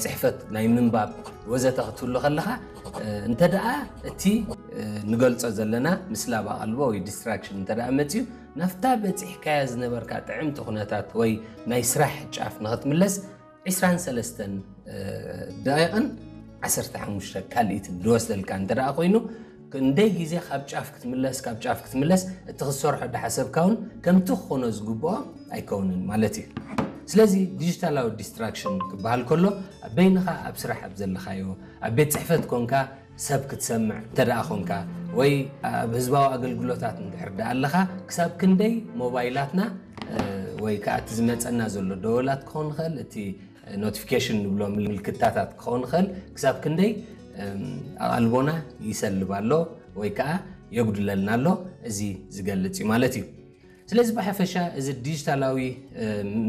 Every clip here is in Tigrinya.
ጽሕፈት ናይ ምንባብ ወዘተ ክትህሉ ከለኻ፣ እንተ ደኣ እቲ ንገልጾ ዘለና ምስላብ ኣቓልቦ ወይ ዲስትራክሽን እንተ ደኣ መጺኡ፣ ናብታ በጺሕካያ ዝነበርካ ጥዕምቲ ኩነታት ወይ ናይ ስራሕ ጫፍ ንኽትምለስ ዕስራን ሰለስተን ደቂቕን ዓሰርተ ሓሙሽተ ካልኢትን ዝወስደልካ እንተ ደኣ ኮይኑ፣ ክንደይ ግዜ ካብ ጫፍ ክትምለስ ካብ ጫፍ ክትምለስ፣ እቲ ክትሰርሖ ዝሓሰብካ እውን ከምቲ ክኾኖ ዝግብኦ ኣይከውንን ማለት እዩ። ስለዚ ዲጂታላዊ ዲስትራክሽን ክበሃል ከሎ፣ ኣብ በይንኻ ኣብ ስራሕ ኣብ ዘለኻዮ፣ ኣብ ቤት ጽሕፈት ኮንካ ሰብ ክትሰምዕ እንተ ደኣ ኮንካ፣ ወይ ኣብ ህዝባዊ ኣገልግሎታት እንድሕር ደኣ ኣለኻ፣ ክሳብ ክንደይ ሞባይላትና ወይ ከዓ እቲ ዝመፀና ዘሎ ደወላት ክኸውን ይኽእል፣ እቲ ኖቲፊኬሽን ንብሎ ምልክታታት ክኸውን ይኽእል፣ ክሳብ ክንደይ ኣቓልቦና ይሰልብ ኣሎ ወይ ከዓ የጉድለልና ኣሎ፣ እዚ ዝገልጽ እዩ ማለት እዩ። ስለዚ ብሓፈሻ እዚ ዲጂታላዊ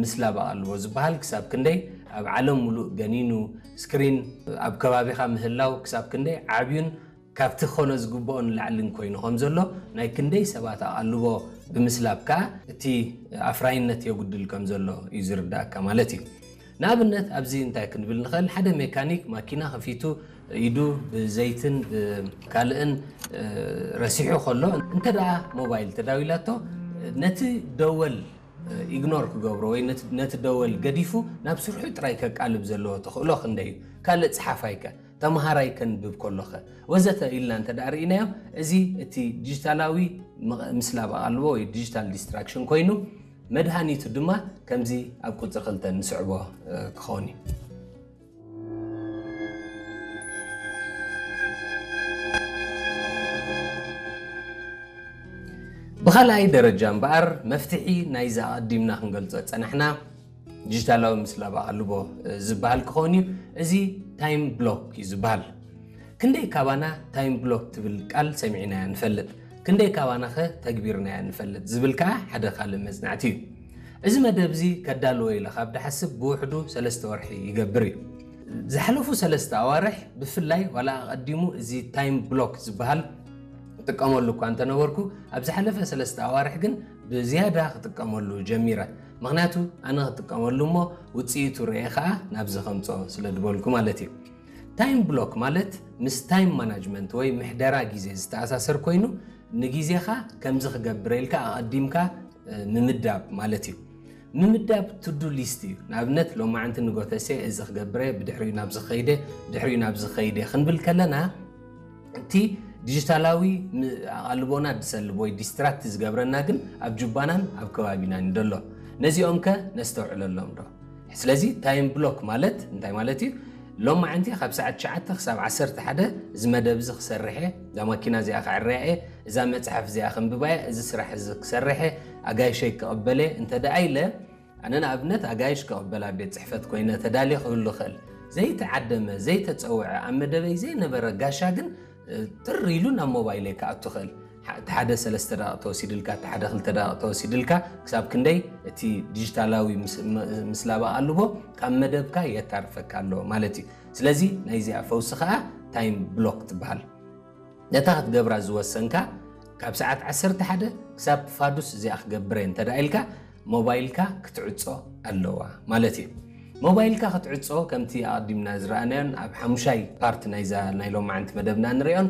ምስላብ ኣቓልቦ ዝበሃል ክሳብ ክንደይ ኣብ ዓለም ሙሉእ ገኒኑ፣ ስክሪን ኣብ ከባቢኻ ምህላው ክሳብ ክንደይ ዓብዩን ካብቲ ክኾኖ ዝግብኦ ንላዕልን ኮይኑ ከም ዘሎ፣ ናይ ክንደይ ሰባት ኣቓልቦ ብምስላብ ከኣ እቲ ኣፍራይነት የጉድል ከም ዘሎ እዩ ዝርዳእካ ማለት እዩ። ንኣብነት ኣብዚ እንታይ ክንብል ንኽእል? ሓደ ሜካኒክ ማኪና ከፊቱ ኢዱ ብዘይትን ብካልእን ረሲሑ ከሎ፣ እንተ ደኣ ሞባይል ተዳዊላቶ፣ ነቲ ደወል ኢግኖር ክገብሮ ወይ ነቲ ደወል ገዲፉ ናብ ስርሑ ጥራይ ከቃልብ ዘለዎ ተኽእሎ ክንደይ እዩ? ካልእ ጸሓፋይከ? ተምሃራይ ከንብብ ከሎኸ? ወዘተ ኢልና እንተ ደኣ ርኢናዮ፣ እዚ እቲ ዲጂታላዊ ምስላብ ኣቓልቦ ወይ ዲጂታል ዲስትራክሽን ኮይኑ፣ መድሃኒቱ ድማ ከምዚ ኣብ ቁጽሪ ክልተ ንስዕቦ ክኸውን እዩ። ብኻልኣይ ደረጃ እምበኣር፣ መፍትሒ ናይዚ ኣቐዲምና ክንገልጾ ዝጸናሕና ዲጂታላዊ ምስላብ ኣቓልቦ ዝበሃል ክኸውን እዩ። እዚ ታይም ብሎክ እዩ ዝበሃል። ክንደይ ካባና ታይም ብሎክ ትብል ቃል ሰሚዕናያ ንፈልጥ? ክንደይ ካባናኸ ተግቢርናያ ንፈልጥ? ዝብል ከኣ ሓደ ካልእ መጽናዕቲ እዩ። እዚ መደብ እዚ ከዳልዎ ኢለ ካብ ድሓስብ ብውሕዱ ሰለስተ ወርሒ ይገብር እዩ። ዝሓለፉ ሰለስተ ኣዋርሕ ብፍላይ፣ ዋላ ኣቐዲሙ እዚ ታይም ብሎክ ዝበሃል እጥቀመሉ እኳ እንተነበርኩ፣ ኣብ ዝሓለፈ ሰለስተ ኣዋርሕ ግን ብዝያዳ ክጥቀመሉ ጀሚረ። ምኽንያቱ ኣነ ክጥቀመሉ እሞ ውጽኢቱ ርኤ ከኣ ናብዚ ከምጾ ስለ ዝበልኩ ማለት እዩ። ታይም ብሎክ ማለት ምስ ታይም ማናጅመንት ወይ ምሕደራ ግዜ ዝተኣሳሰር ኮይኑ፣ ንግዜኻ ከምዚ ክገብረ ኢልካ ኣቐዲምካ ምምዳብ ማለት እዩ። ምምዳብ ቱዱ ሊስት እዩ። ንኣብነት ሎማዓንቲ ንጎተሴ እዚ ክገብረ፣ ብድሕሪኡ ናብዚ ከይደ፣ ብድሕሪኡ ናብዚ ከይደ ክንብል ከለና፣ እቲ ዲጂታላዊ ኣቓልቦና ዝሰልብ ወይ ዲስትራክት ዝገብረና ግን ኣብ ጁባናን ኣብ ከባቢናን እዩ ዘሎ። ነዚኦም ከ ነስተውዕለሎም ዶ? ስለዚ ታይም ብሎክ ማለት እንታይ ማለት እዩ? ሎማዓንቲ ካብ ሰዓት ትሽዓተ ክሳብ ዓሰርተ ሓደ እዚ መደብ እዚ ክሰርሕ እየ፣ እዛ ማኪና እዚኣ ከዕርያ እየ፣ እዛ መጽሓፍ እዚኣ ከንብባ እየ፣ እዚ ስራሕ እዚ ክሰርሕ እየ፣ ኣጋይሸይ ክቕበል እየ እንተ ደኣ ኢለ፣ ኣነ ንኣብነት ኣጋይሽ ክቕበል ኣብ ቤት ጽሕፈት ኮይነ ተዳልየ ክህሉ እኽእል። ዘይተዓደመ፣ ዘይተጸውዐ፣ ኣብ መደበይ ዘይነበረ ጋሻ ግን ጥር ኢሉ ናብ ሞባይለይ ክኣቱ ይኽእል። እቲ ሓደ ሰለስተ ደቂቕ ተወሲድልካ፣ እቲ ሓደ ክልተ ደቂቕ ተወሲድልካ፣ ክሳብ ክንደይ እቲ ዲጂታላዊ ምስላብ ኣቓልቦ ካብ መደብካ የታርፈካ ኣሎ ማለት እዩ። ስለዚ ናይዚኣ ፈውሲ ከኣ ታይም ብሎክ ትበሃል። ነታ ክትገብራ ዝወሰንካ ካብ ሰዓት ዓሰርተ ሓደ ክሳብ ፋዱስ እዚኣ ክገብረ እንተ ደኣ ኢልካ፣ ሞባይልካ ክትዕጾ ኣለዋ ማለት እዩ። ሞባይልካ ክትዕጾ ከምቲ ኣቐዲምና ዝረኣናዮን ኣብ ሓሙሻይ ፓርት ናይዛ ናይ ሎማዓንቲ መደብና ንሪኦን፣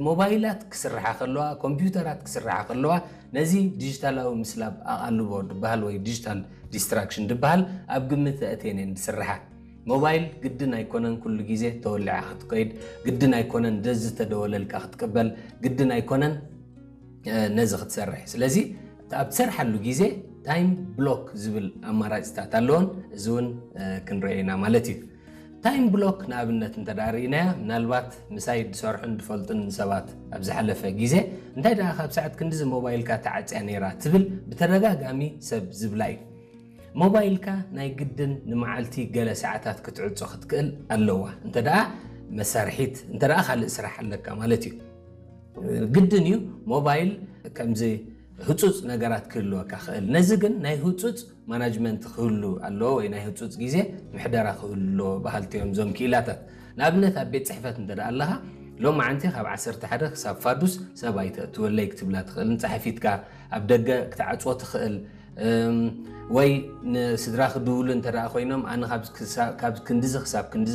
ሞባይላት ክስርሓ ከለዋ፣ ኮምፒውተራት ክስርሓ ከለዋ፣ ነዚ ዲጂታላዊ ምስላብ ኣቓልቦ ድበሃል ወይ ዲጂታል ዲስትራክሽን ድበሃል ኣብ ግምት ኣእትየን እየን ዝስርሓ። ሞባይል ግድን ኣይኮነን ኩሉ ግዜ ተወሊዓ ክትከይድ፣ ግድን ኣይኮነን ደዚ ተደወለልካ ክትቅበል፣ ግድን ኣይኮነን ነዚ ክትሰርሕ። ስለዚ ኣብ ትሰርሓሉ ግዜ ታይም ብሎክ ዝብል ኣማራፅታት ኣለዎን፣ እዚ እውን ክንሪኦ ኢና ማለት እዩ። ታይም ብሎክ ንኣብነት እንተ ደኣ ርኢናያ፣ ምናልባት ምሳይ ዝሰርሑን ዝፈልጡን ሰባት ኣብ ዝሓለፈ ግዜ፣ እንታይ ደኣ ካብ ሰዓት ክንድዚ ሞባይልካ ተዓፅያ ነይራ ትብል ብተደጋጋሚ ሰብ ዝብላ እዩ። ሞባይልካ ናይ ግድን ንመዓልቲ ገለ ሰዓታት ክትዕጾ ክትክእል ኣለዋ፣ እንተ ደኣ መሳርሒት፣ እንተ ደኣ ካልእ ስራሕ ኣለካ ማለት እዩ። ግድን እዩ ሞባይል ከምዚ ህጹጽ ነገራት ክህልወካ ክእል። ነዚ ግን ናይ ህጹጽ ማናጅመንት ክህሉ ኣለዎ ወይ ናይ ህጹጽ ግዜ ምሕደራ ክህሉ ኣለዎ በሃልቲ እዮም እዞም ክኢላታት። ንኣብነት ኣብ ቤት ጽሕፈት እንተ ደኣ ኣለኻ፣ ሎማዓንቲ ካብ ዓሰርተ ሓደ ክሳብ ፋዱስ ሰብ ኣይተእትወለይ ክትብላ ትኽእል። ንጸሓፊትካ ኣብ ደገ ክትዓጽዎ ትኽእል። ወይ ንስድራ ክድውሉ እንተ ኮይኖም ኣነ ካብ ክንድዚ ክሳብ ክንድዚ